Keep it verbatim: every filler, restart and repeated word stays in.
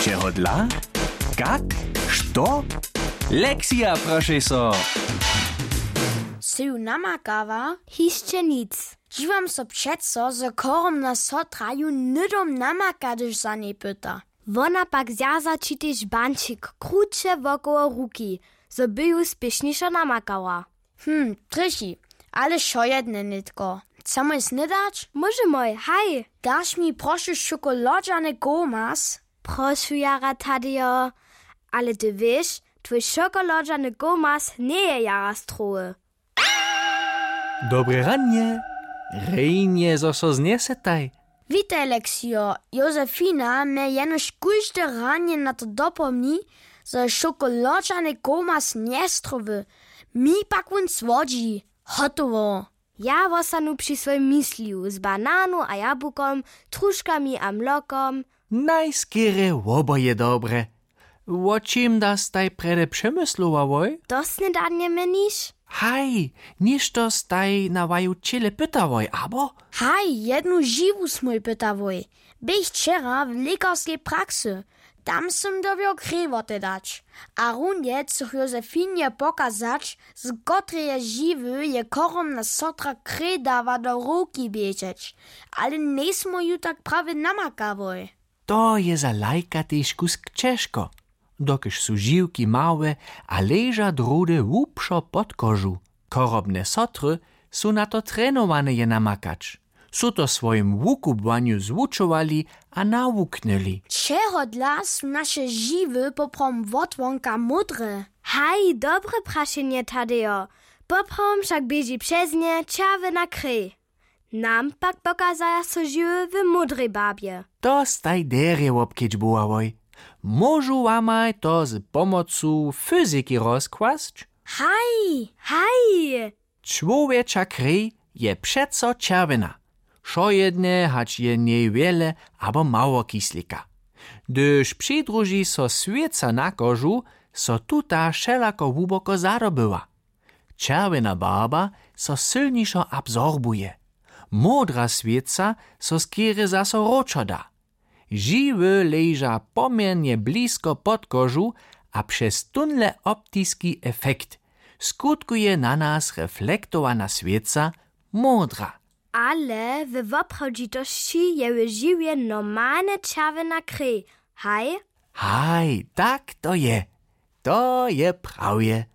Čehodla? Kak? Što? Lexija, prošej so. Sy ju namakała? Hišće nic. Dźiwam so přeco, zo chorobna sotra ju hnydom namaka, hdyž za njej pyta. Wona pak zwjaza ći tež bančik kruće wokoło ruki, zo by ju spěšnišo namakała. Hm, trjechi, ale wšojedne nětko. Chcemoj snydać? Móžemoj, haj. Daš mi prošu šokolodźany komas? Prošu jara, Tadejo, ale ty wěš, twój šokolodźany komas njeje jara strowy. Dobre ranje. Rjenje, zo so znjesetaj. Witaj, Leksijo. Josefina mje jenož kóžde ranje na to dopomni, zo je šokolodźany komas njestrowy. Mi pak wón słodźi. Hotowo. Ja wostanu při swojim mysliju z bananu a jabłukom, truškami a mlokom. Najskerje woboje dobre. Wo čim da staj prjedy přemyslowałoj? To snydanje měniš? Haj, něšto staj na waju ćěle pytałoj, abo? Haj, jednu žiwu smój pytałoj. Běch wčera w lěkarskej praksy. Tam sym dyrbjał krej wotedać. A runje chcych Josefinje pokazać, z kotreje žiwy je chorobna sotra krej dawa do ruki běžeć. Ale njejsmoj ju tak prawje namakałoj. To je za lajka tež kusk ćežko, dokelž su žiwki małe a leža druhdy hłubšo pod kožu. Chorobne sotry su na to trenowane je namakać. Su to w swojim wukubłanju zwučowali a nawuknyli. Čehodla su naše žiwy poprawom wotwonka módre? Haj, dobre prašenje, Tadejo. Poprawom wšak běži přez nje čerwjena krej. Nam pak pokazaja so žiwy w módrej barbje. To staj derje wobkedźbowałoj. Móžu wamaj to z pomocu fyziki rozkłasć? Haj, haj. Čłowječa krej je přeco čerwjena, wšojedne, hač je w njej wjele abo mało kislika. Hdyž přidruži so swěca na kožu, so tuta wšelako hłuboko zadobywa. Čerwjena barba so sylnišo absorbuje. Módra swěca so skerje zaso wróćo da. Žiwy leža poměrnje blisko pod kožu a přez tónle optiski efekt skutkuje na nas reflektowana swěca módra. Ale we woprawdźitosći je w žiwje normalnje čerwjena krej, haj? Haj, tak to je. To je prawje.